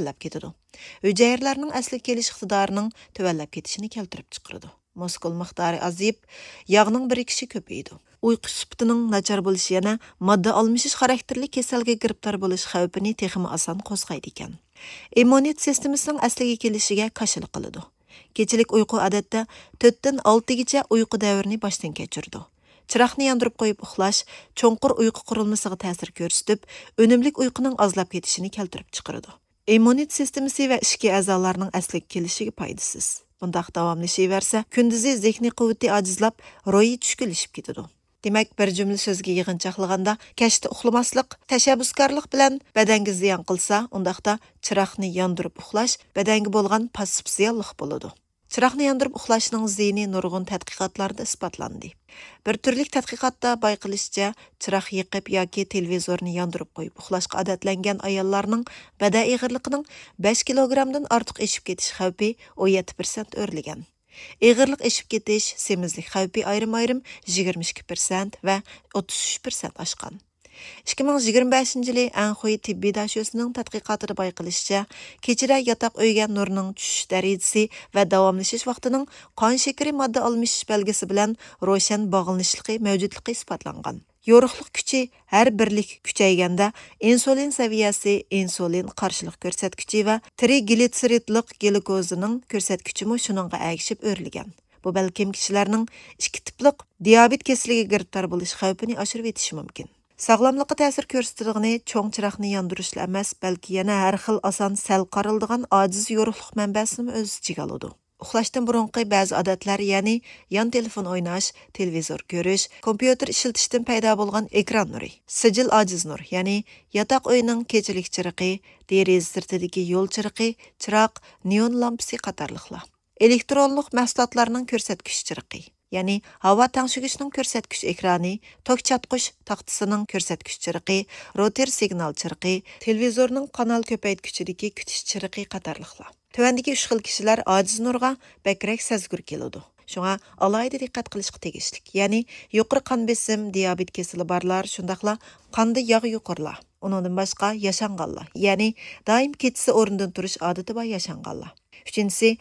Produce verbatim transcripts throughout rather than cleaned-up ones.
تۆۋەنلەپ كېتىدۇ. ھۈجەيرىلەرنىڭ ئەسلىگە كېلىش ئىقتىدارىنىڭ تۆۋەنلەپ كېتىشىنى كەلتۈرۈپ چىقىرىدۇ. مۇسكۇل مىقدارى ئازىيىپ، ياغنىڭ بىرىكىشى كۆپىيىدۇ. ئۇيقۇ سۈپىتىنىڭ ناچار بولۇشى يەنە ماددا ئالمىشىش خاراكتېرلىك كېسەلگە گىرىپتار بولۇش خەۋپىنى تېخىمۇ ئاسان قوزغايدىكەن. ئىممۇنىتېت سىستېمىسىنىڭ ئەسلىگە كېلىشىگە كاشىلا قىلىدۇ. كېچىلىك ئۇيقۇ ئادەتتە تۆتتىن ئالتىگىچە ئۇيقۇ دەۋرىنى باشتىن كەچۈرىدۇ. چىراغنى ياندۇرۇپ قويۇپ ئۇخلاش چوڭقۇر ئۇيقۇ قۇرۇلمىسىغا تەسىر كۆرسىتىپ، ئۈنۈملۈك ئۇيقۇنىڭ ئازلاپ كېتىشىنى كەلتۈرۈپ چىقىرىدۇ. ئىممۇنىتېت سىستېمىسى ۋە ئىچكى ئەزالارنىڭ ئەسلىگە كېلىشىگە پايدىسىز. بۇنداق داۋاملىشىۋەرسە، كۈندۈزى زېھنىي قۇۋۋىتى ئاجىزلاپ، روھى چۈشكۈنلىشىپ كېتىدۇ. دېمەك، بىر جۈملە سۆزگە يىغىنچاقلىغاندا، كەچتە ئۇخلىماسلىق تەشەببۇسكارلىق بىلەن بەدەنگە زىيان قىلسا، ئۇنداقتا چىراغنى ياندۇرۇپ ئۇخلاش بەدەنگە بولغان پاسسىپ زىيانلىق بولىدۇ. چىراغنى ياندۇرۇپ ئۇخلاشنىڭ زىيىنى نۇرغۇن تەتقىقاتلاردا ئىسپاتلاندى. بىر تۈرلۈك تەتقىقاتتا بايقىلىشىچە، چىراغ يېقىپ ياكى تېلېۋىزورنى ياندۇرۇپ قويۇپ ئۇخلاشقا ئادەتلەنگەن ئاياللارنىڭ بەدەن ئېغىرلىقىنىڭ بەش كىلوگرامدىن ئارتۇق ئېشىپ كېتىش خەۋپى ئون يەتتە پىرسەنت ئۆرلىگەن. ئېغىرلىق ئېشىپ كېتىش، سېمىزلىك خەۋپى ئايرىم-ئايرىم يىگىرمە ئىككى پىرسەنت ۋە ئوتتۇز ئۈچ پىرسەنت ئاشقان. ئىككى مىڭ يىگىرمە بەشىنچى يىلى ئەنخۇي تېببىي داشۆسىنىڭ تەتقىقاتىدا بايقىلىشىچە، كېچىدە ياتاق ئۆيگە نۇرنىڭ چۈشۈش دەرىجىسى ۋە داۋاملىشىش ۋاقتىنىڭ قان شېكىرى ماددا ئالمىشىش بەلگىسى بىلەن روشەن باغلىنىشلىقى مەۋجۇتلۇقى ئىسپاتلانغان. يورۇقلۇق كۈچى ھەر بىرلىك كۈچەيگەندە، ئىنسۇلىن سەۋىيەسى، ئىنسۇلىن قارشىلىق كۆرسەتكۈچى ۋە ترىگلىتسېرىدلىق گلۇكوزىنىڭ كۆرسەتكۈچىمۇ شۇنىڭغا ئەگىشىپ ئۆرلىگەن. بۇ بەلكىم كىشىلەرنىڭ ئىككى تىپلىق دىيابېت كېسىلىگە گىرىپتار بولۇش خەۋپىنى ئاشۇرۇۋېتىشى مۇمكىن. ساغلاملىققا تەسىر كۆرسىتىدىغىنى چوڭ چىراغنى ياندۇرۇشلا ئەمەس، بەلكى يەنە ھەر خىل ئاسان سەل قارىلىدىغان ئاجىز يورۇقلۇق مەنبەسىنىمۇ ئۆز ئىچىگە ئالىدۇ. ئۇخلاشتىن بۇرۇنقى بەزى ئادەتلەر، يەنى يان تېلېفون ئويناش، تېلېۋىزور كۆرۈش، كومپيۇتېر ئىشلىتىشتىن پەيدا بولغان ئېكران نۇرى، سىجىل ئاجىز نۇر، يەنى ياتاق ئۆينىڭ كېچىلىك چىرىقى، دېرىزە سىرتىدىكى يول چىرىقى، چىراغ، نېئون لامپىسى قاتارلىقلار. ئېلېكترونلۇق مەھسۇلاتلارنىڭ كۆرسەتكۈچ چىرىقى، يەنى ھاۋا تەڭشىگۈچنىڭ كۆرسەتكۈچ ئېكرانى، توك چاتقۇچ تاختىسىنىڭ كۆرسەتكۈچ چىرىقى، روتېر سىگنال چىرىقى، تېلېۋىزورنىڭ قانال كۆپەيتكۈچىدىكى كۈتۈش چىرىقى قاتارلىقلار. تۆۋەندىكى ئۈچ خىل كىشىلەر ئاجىز نۇرغا بەكرەك سەزگۈر كېلىدۇ. شۇڭا ئالاھىدە دىققەت قىلىشقا تېگىشلىك، يەنى يۇقىرى قان بېسىم، دىيابېت كېسىلى بارلار، شۇنداقلا قاندا ياغ يۇقىرىلار، ئۇنىڭدىن باشقا ياشانغانلار، يەنى دائىم كېچىسى ئورنىدىن تۇرۇش ئادىتى بار ياشانغانلار. ئۈچىنچىسى،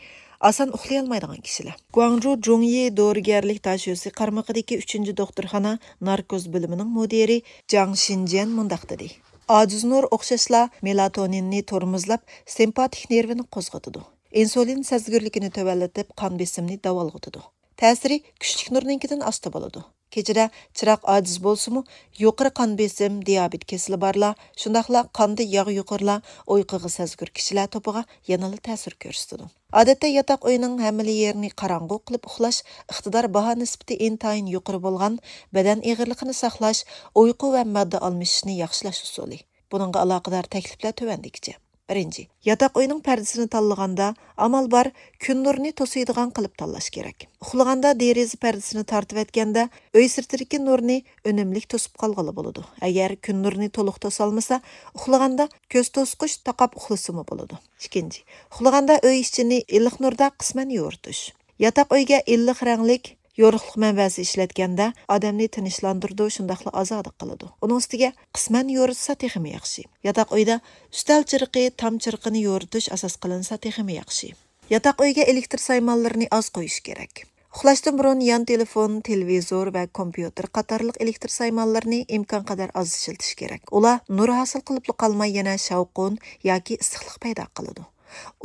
ئاسان ئۇخلىيالمايدىغان كىشىلەر. گۇاڭجۇ جۇڭيى دورىگەرلىك داشۆسى قارمىقىدىكى ئۈچىنچى دوختۇرخانا ناركوز بۆلۈمىنىڭ مۇدىرى جاڭ شىنجيەن مۇنداق دېدى: ئاجىز نۇر ئوخشاشلا مېلاتونىننى تورمۇزلاپ، سىمپاتىك نېرۋىنى قوزغىتىدۇ. ئىنسۇلىن سەزگۈرلۈكىنى تۆۋەنلىتىپ، قان بېسىمنى داۋالغۇتىدۇ. تەسىرى كۈچلۈك نۇرنىڭكىدىن ئاستا بولىدۇ. كېچىدە چىراغ ئاجىز بولسىمۇ، يۇقىرى قان بېسىم، دىيابېت كېسىلى بارلار، شۇنداقلا قاندا ياغ يۇقىرىلار، ئۇيقۇغا سەزگۈر كىشىلەر توپىغا يەنىلا تەسىر كۆرسىتىدۇ. ئادەتتە ياتاق ئۆينىڭ ھەممىلا يېرىنى قاراڭغۇ قىلىپ ئۇخلاش ئىقتىدار باھا نىسبىتى ئىنتايىن يۇقىرى بولغان، بەدەن ئېغىرلىقىنى ساقلاش، ئۇيقۇ ۋە ماددا ئالمىشىشنى ياخشىلاش ئۇسۇلى. بۇنىڭغا ئالاقىدار تەكلىپلەر تۆۋەندىكىچە. بىرىنچى، ياتاق ئۆينىڭ پەردىسىنى تاللىغاندا، ئامال بار كۈن نۇرىنى توسۇيدىغان قىلىپ تاللاش كېرەك. ئۇخلىغاندا دېرىزە پەردىسىنى تارتىۋەتكەندە، ئۆي سىرتىدىكى نۇرنى ئۈنۈملۈك توسۇپ قالغىلى بولىدۇ. ئەگەر كۈن نۇرىنى تولۇق توسالمىسا، ئۇخلىغاندا كۆز توسقۇچ تاقاپ ئۇخلىسىمۇ بولىدۇ. ئىككىنچى، ئۇخلىغاندا ئۆي ئىچىنى ئىللىق نۇردا قىسمەن يورۇتۇش. ياتاق ئۆيگە ئىللىق رەڭلىك يورۇقلۇق مەنبەسى ئىشلەتكەندە، ئادەمنى تىنچلاندۇرىدۇ، شۇنداقلا ئازادە قىلىدۇ. ئۇنىڭ ئۈستىگە قىسمەن يورۇتسا تېخىمۇ ياخشى. ياتاق ئۆيدە ئۈستەل چىرىقى، تام چىرىقىنى يورۇتۇش ئاساس قىلىنسا تېخىمۇ ياخشى. ياتاق ئۆيگە ئېلېكتر سايمانلىرىنى ئاز قويۇش كېرەك. ئۇخلاشتىن بۇرۇن يان تېلېفون، تېلېۋىزور ۋە كومپيۇتېر قاتارلىق ئېلېكتر سايمانلىرىنى ئىمكانقەدەر ئاز ئىشلىتىش كېرەك. ئۇلار نۇر ھاسىل قىلىپلا قالماي، يەنە شاۋقۇن ياكى ئىسسىقلىق پەيدا قىلىدۇ.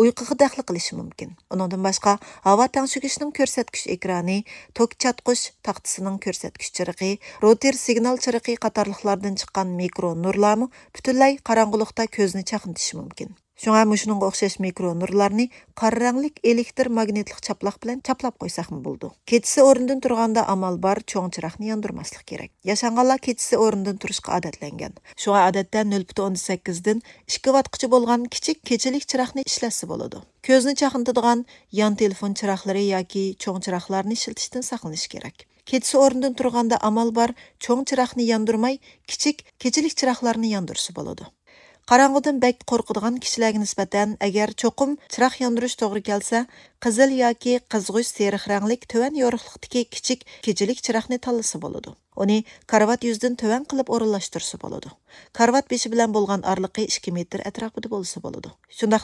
ئۇيقۇغا دەخلى قىلىشى مۇمكىن. ئۇنىڭدىن باشقا، ھاۋا تەڭشىگۈچنىڭ كۆرسەتكۈچ ئېكرانى، توك چاتقۇچ تاختىسىنىڭ كۆرسەتكۈچ چىرىقى، روتېر سىگنال چىرىقى قاتارلىقلاردىن چىققان مىكرو نۇرلارمۇ پۈتۈنلەي قاراڭغۇلۇقتا كۆزنى چاقنىتىشى مۇمكىن. شۇڭا مۇشۇنىڭغا ئوخشاش مىكرو نۇرلارنى قارا رەڭلىك ئېلېكتر ماگنىتلىق چاپلاق بىلەن چاپلاپ قويساقمۇ بولىدۇ. كېچىسى ئورنىدىن تۇرغاندا ئامال بار چوڭ چىراغنى ياندۇرماسلىق كېرەك. ياشانغانلار كېچىسى ئورنىدىن تۇرۇشقا ئادەتلەنگەن. شۇڭا ئادەتتە نۆل پۈتۈن ئوندىن سەككىزدىن ئىككى ۋاتقىچە بولغان كىچىك كېچىلىك چىراغنى ئىشلەتسە بولىدۇ. كۆزنى چاقنىتىدىغان يان تېلېفون چىراغلىرى ياكى چوڭ چىراغلارنى ئىشلىتىشتىن ساقلىنىش كېرەك. كېچىسى ئورنىدىن تۇرغاندا ئامال بار چوڭ چىراغنى ياندۇرماي، كىچىك كېچىلىك چىراغلارنى ياندۇرسا بولىدۇ. قاراڭغۇدىن بەك قورقىدىغان كىشىلەرگە نىسبەتەن، ئەگەر چوقۇم چىراغ ياندۇرۇش توغرا كەلسە، قىزىل ياكى قىزغۇچ سېرىق رەڭلىك تۆۋەن يورۇقلۇقتىكى كىچىك كېچىلىك چىراغنى تاللىسا بولىدۇ. ئۇنى كارىۋات يۈزىدىن تۆۋەن قىلىپ ئورۇنلاشتۇرسا بولىدۇ. كارىۋات بېشى بىلەن بولغان ئارىلىقى ئىككى مېتىر ئەتراپىدا بولسا بولىدۇ. شۇنداقلا